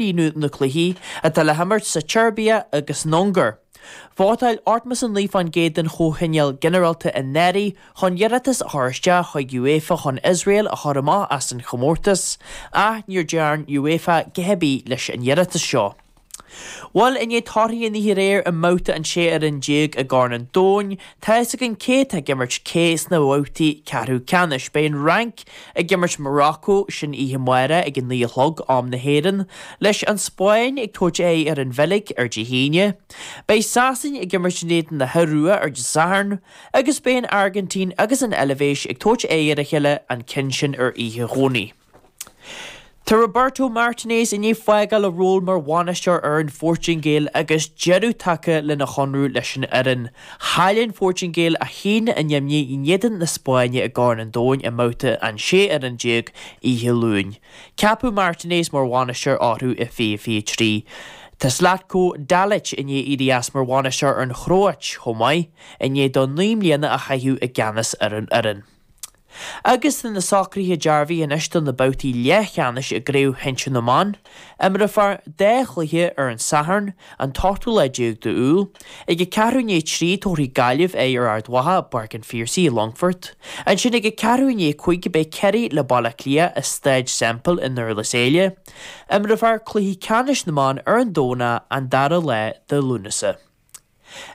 Líonadh na cluichí atá le himirt sa tSeirbia agus san Ungáir. Vótáil 89% den Chomhthionól Ginearálta anuraidh chun iarratas a chur isteach chuig UEFA chun Iosrael a chur amach as an chomórtas, ach níor dearn UEFA a dhath ar bith leis an iarratas seo. Bhuel, i ndiaidh torthaí an oíche aréir i mbabhta an 16 fhoireann i gCorn an Domhain, tá fhios againn cé atá ag imirt cé sna babhtaí ceathrú ceannais. Beidh an Fhrainc ag imirt Morocco, sin oíche amárach ag a 9 a chlog, am na hÉireann, leis an Spáinn ag tabhairt aghaidh ar an Bheilg ar Dé hAoine. Beidh Sasain ag imirt in éadan na hIorua ar Dé Sathairn, agus beidh an Airgintín agus an Eilvéis ag tabhairt aghaidh ar a chéile, an ceann sin ar oíche Dhomhnaigh. Tá Roberto Martinez i ndiaidh fágáil a ról mar bhainisteoir ar an Phortaingéil agus deireadh tagtha lena chonradh leis an fhoireann. Chaill an Phortaingéil 1 in imní in éadan na Spáinne i gCorn an Domhain i mbabhta an 16 fhoireann oíche Luain. Ceapadh Martinez mar bhainisteoir orthu i 2023. Tá Zlatko Dalic i ndiaidh éirí as mar bhainisteoir ar an Chróit chomh maith, i ndiaidh dó 9 mbliana a chaitheamh i gceannas ar an fhoireann. Agus tá na socruithe dearbhaithe anois do na babhtaí leathcheannais i gCraobh Shinsir na mBan. Imreofar dá chluiche ar an Satharn, an t-ochtú lá déag d'Iúil. Ag a ceathrú i ndiaidh a 3 tabharfaidh Gaillimh aghaidh ar Ard Mhacha i bPáirc an Phiarsaigh i Longfort. Ansin ag a ceathrú i ndiaidh a 5 beidh Ciarraí le Baile Átha Cliath i Staid Semple i nDurlas Éile. Imreofar cluichí ceannais na mban ar an Domhnach, an dara lá de Lúnasa.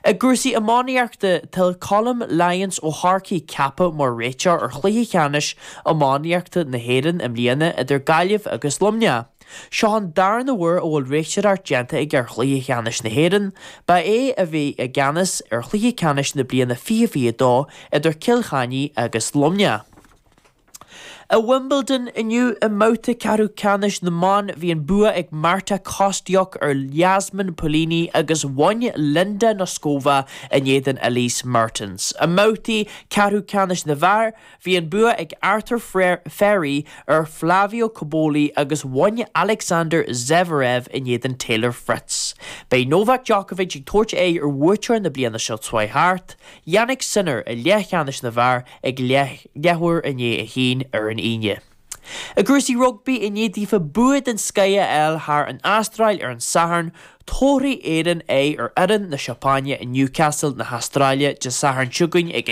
I gcúrsaí iománaíochta, tá Colm Lyons ó Chorcaigh ceaptha mar réiteoir ar chluiche ceannais iománaíochta na hÉireann i mbliana idir Gaillimh agus Luimneach. Seo an darna huair a bhfuil réiteoireacht déanta aige ar chluiche ceannais na hÉireann. Ba é a bhí i gceannas ar chluiche ceannais na bliana 2022 idir Cill Chainnigh agus Luimneach. I Wimbledon inniu i mbabhta ceathrú ceannais na mban bhí an bua ag Marta Kostyuk ar Jasmine Paolini agus bhain Linda Noskova in éadan Elise Mertens. I mbabhtaí ceathrú ceannais na bhfear bhí an bua ag Arthur Fery ar Flavio Cobolli agus bhain Alexander Zverev in éadan Taylor Fritz. Beidh Novak Djokovic ag tabhairt aghaidh ar bhuaiteoir na bliana seo chuaigh thart, Jannik Sinner i leathcheannais na bhfear ag leathuair i ndiaidh a haon ar an Aoine. I gcúrsaí rugbaí, i ndiaidh daofa bua den scoith a fháil thar an Astráil ar an Satharn, tabharfaidh Éirinn aghaidh ar fhoireann na Seapáine i Newcastle na hAstráile Dé Sathairn seo chugainn ag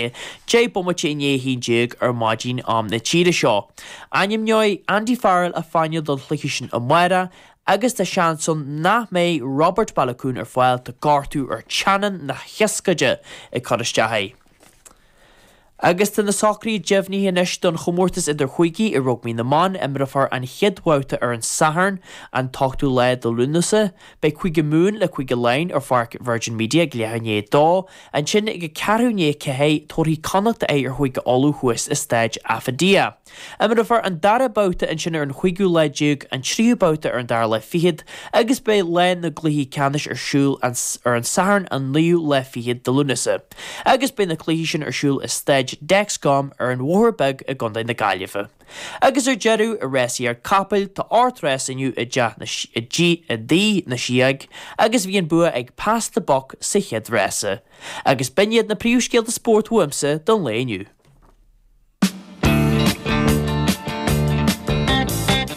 10 bomaite i ndiaidh 11 ar maidin am na tíre seo. Ainmneoidh Andy Farrell a phainéal don chluiche sin amárach agus tá seans ann nach mbeidh Robert Baloucoune ar fáil, tá gortú ar teannán na hioscaide ag cur isteach air. Agus tá na socruithe deimhnithe anois don chomórtas idir-chúigí i rugbaí na mban. Imreofar an chéad bhabhta ar an Satharn, an t-ochtú lá de Lúnasa. Beidh Cúige Mumhan le Cúige Laighean ar pháirc Virgin Media ag leathuair i ndiaidh a dó. Ansin ag a ceathrú i ndiaidh a ceathair, tabharfaidh Connacht aghaidh ar Chúige Uladh thuas i Staid Affidea. Imreofar an dara babhta ansin ar an chúigiú lá déag, an tríú babhta ar an dara lá fichead agus beidh lá na gcluichí ceannais ar siúl ar an Satharn an naoú lá fichead de Lúnasa. Agus beidh na cluichí sin ar siúl i Staid Dexcom ar an Bhóthar Beag i gContae na Gaillimhe. Agus ar deireadh, i rásaíocht capaill, tá 8 rás inniu i dTigh na Sióg agus bhí an bua ag Pass The Buck sa chéad rása. Agus b'in iad na príomhscéalta spóirt uaimse don lae inniu.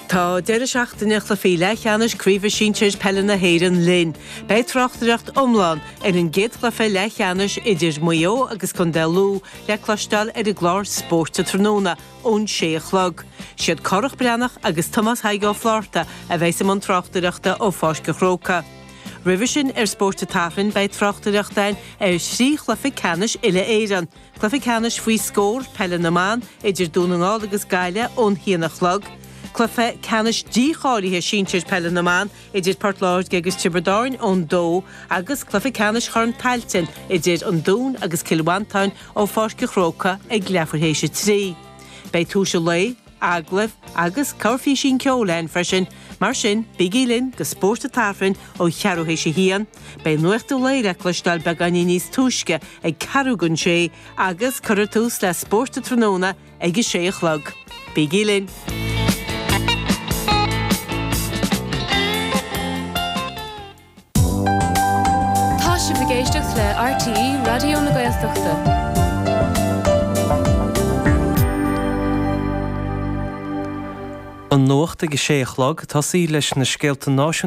Tá deireadh seachtaine chluichí leathcheannais Craoibhe Sinsir Peile na hÉireann linn. Beidh tráchtaireacht iomlán ar an gcéad chluiche leathcheannais idir Maigh Eo agus Contae Lú le cloisteáil ar an gclár Spóirt tráthnóna ón sé a chlog. Siad Cárthach Breathnach agus Tomás Thaidhg Ó Flátharta a bheas i mbun tráchtaireachta ó Pháirc an Chrócaigh. Roimhe sin ar Spórt an tSathairn beidh tráchtaireacht ann ar thrí chluiche ceannais uile-Éireann. Cluiche ceannais faoi scór peile na mban idir Dún na nGall agus Gaillimh ón haon a chlog. Cluiche ceannais dícháilithe sinsir peile na mban idir Port Láirge agus Tiobraid Árann ón dó agus cluiche ceannais Chorn Tailteann idir An Dún agus Cill Mhantáin ó Pháirc an Chrócaigh ag leathuair théis a 3. Beidh tomhais an lae, agallaimh agus corrphíosín ceoil ann freisin, mar sin bígí linn do Spórt an tSathairn ó cheathrú théis a haon. Beidh nuacht an lae le cloisteáil beagáinín níos túisce ag ceathrú don sé agus cuirfear tús le Spórt an Tráthnóna ag a sé a chlog. Bígí linn! Tá sibh ag éisteacht le RTÉ Raidió na Gaeltachta. An. An Nuacht ag a sé a chlog, tosaí leis na scéalta náisiúnta.